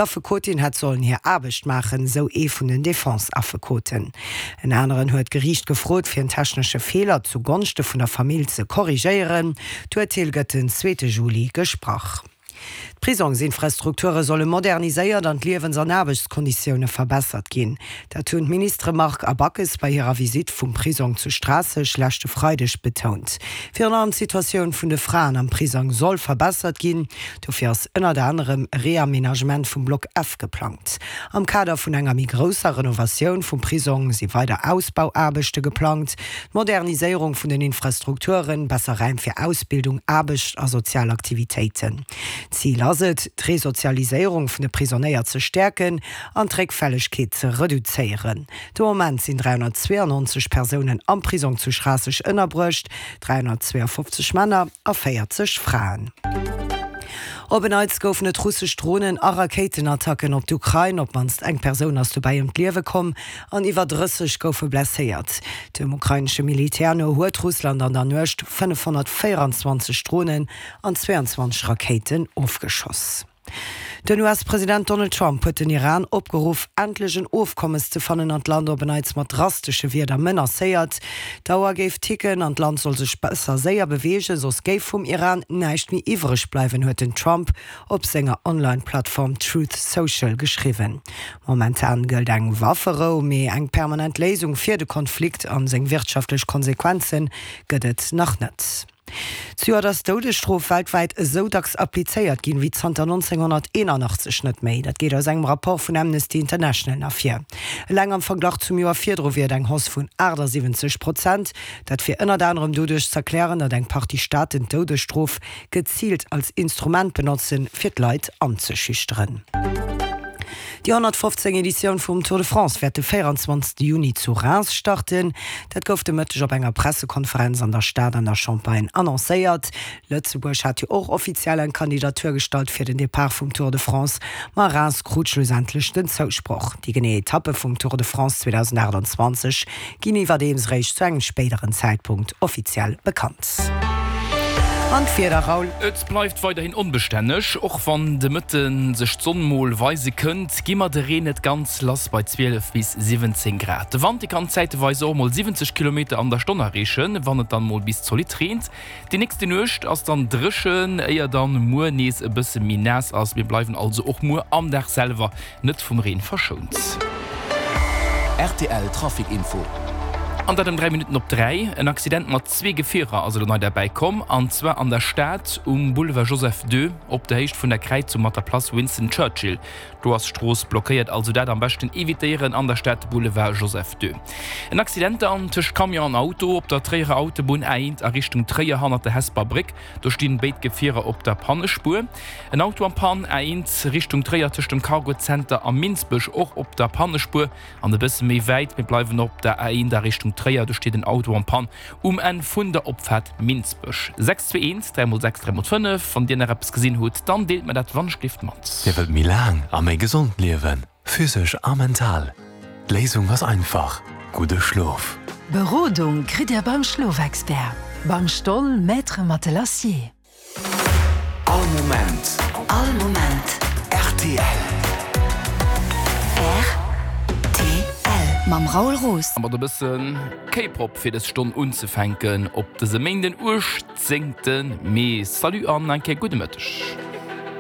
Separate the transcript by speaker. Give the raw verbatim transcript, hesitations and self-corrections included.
Speaker 1: D'Affekotin hätt sollen hir Aarbecht maachen, sou ee vun den Defense-Affekoten. En aneren huet d'Geriicht gefrot, fir en technesche Feeler zu Gonschte vun der Famill ze korrigéieren. D'Urteel gëtt den zweete Juli gesprach. D'Prisongsinfrastrukture solle moderniséiert an d'Liewens an Aarbechtskonditioune verbessert ginn. Dat hunn d'Ministere Margue a Backes bei hirer Visitt vum Prisong zu Schraasseg leschte Freideg betount. Virun allem d'Situatioun vun de Fraen am Prisong soll verbessert ginn. Dofir ass ënnert anerem e Reamenagement vum Block F geplangt. Am Kader vun enger méi grousser Renovatioun vum Prisong si weider Ausbauaarbechte geplangt, d'Moderniséierung vun den Infrastrukturen, besser Räim fir Ausbildung, Aarbecht a sozial Aktivitéiten. Zil ass et, d'Resozialiséierung vun de Prisonéier ze stäerken an d'Réckfällegkeet ze reduzéieren. De Moment sinn dräihonnertzweeanonzeg Persounen am Prisong zu Schraasseg ënnerbruecht, dräihonnertzweeafofzeg Männer a véierzeg Fraen. Op en Neits goufen et russesch Dronen a Rakéitenattacken op d'Ukrain. Op d'mannst eng Persoun ass dobäi ëm d'Liewe komm an iwwer drësseg goufe blesséiert. Dem ukrainesche Militär no huet Russland an der Nuecht fënnefhonnertvéierundzwanzeg Dronen an zweeanzwanzeg Rakéiten ofgeschoss. Den U S-President Donald Trump huet den Iran opgeruff, endlech en Ofkommes ze fannen an d'Land op en Neits mat drastesche Wierder menacéiert. D'Auer géif ticken an d'Land soll sech besser séier beweegen, soss géif vum Iran näischt méi iwwreg bleiwen, huet den Trump op senger Online-Plattform Truth Social geschriwwen. Momentan gëllt eng Wafferou, mee eng permanent Léisung fir de Konflikt an seng wirtschaftlech Konsequenze gëtt et nach net. Zejoert ass d'Doudesstrof weltwäit esou dacks applizéiert ginn, wéi zanter nonzénghonnerteenanachtzeg net méi. Dat geet aus engem Rapport vun Amnesty International ervir. Eleng am Verglach zum Joer virdru wier et eng Hausse vun aachtasiwwenzeg Prozent. Dat wier ënnert anerem doduerch z'erklären, datt eng Partie Staaten d'Doudesstrof geziilt als Instrument benotzen, fir d'Leit anzeschüchteren. Déi honnertfofzéng Editioun vum Tour de France wäert de véierundzwanzegste Juni zu Reims starten. Dat gouf de Mëtteg op enger Pressekonferenz an der Stad an der Champagne annoncéiert. Lëtzebuerg hat jo och offiziell eng Kandidatur gestallt fir den Depart vum Tour de France, ma Reims krut schlussendlech den Zousproch. Déi genee Etappe vum Tour de France zweedausendachtundzwanzeg ginn iwwerdeems réischt zu engem spéideren Zäitpunkt offiziell bekannt. An d'Wieder, Raoul?
Speaker 2: Et bleift weiderhin onbestänneg, och wann de Mëtte sech d'Sonn mol weise kënnt, gi mer de Reen net ganz lass bei zwielef bis siwwenzéng Grad. De Wand, dee kann zäiteweis och mol siwwenzeg Kilometer an der Stonn erreechen, wann et dann mol bis zolidd reent. Déi nächste Nuecht ass dann dréchen, éier dann muer nees e bësse méi naass ass. Mir bleiwen also och muer am Dag selwer net vum Reen verschount.
Speaker 3: Rtl Trafic Info.
Speaker 2: An dat ëm dräi Minutten op dräi. En Accident mat zwee Gefierer ass elo nei derbäi komm, an zwar an der Stad um Boulevard Joseph ii op der Héicht vun der Kräizung mat der Place Winston Churchill. Do ass d'Strooss blockéiert, also dat am beschten evitéieren an der Stad, de Boulevard Joseph ii. En Accident dann tëscht Camion an Auto op der Tréierer Autobunn A eent a Richtung Tréier hannert der Hesper Bréck. Do stinn béid Gefierer op der Pannespuer. En Auto am Pann, A eent Richtung Tréier tëscht dem Cargo Center a Minsbech och op der Pannespuer. An e bësse méi wäit, mir bleiwen op der A eent a Richtung Tréier, do steet en Auto en panne um Enn vun der Opfaart Minsbech. Sechs zwee eent, dräi mol sechs, dräi mol fënnef, Wann Dir nach eppes gesinn hutt, dann deelt mer dat wannschlift mat.
Speaker 4: Dir wëllt méi laang a méi gesond liewen, physesch a mental? D'Léisung ass einfach, gudde Schlof!
Speaker 5: Berodung kritt Dir beim Schlofexpert, beim Stoll Maître Matelassier.
Speaker 3: All Moment.
Speaker 6: All Moment.
Speaker 3: Rtl.
Speaker 6: Rtl. Mam Raoul Roos.
Speaker 2: A mat e bësse K-Pop fir dës Stonn unzefänken op dësem Méinden, uechtzéngte Mee. Salut an eng Kéier gudde Mëtteg.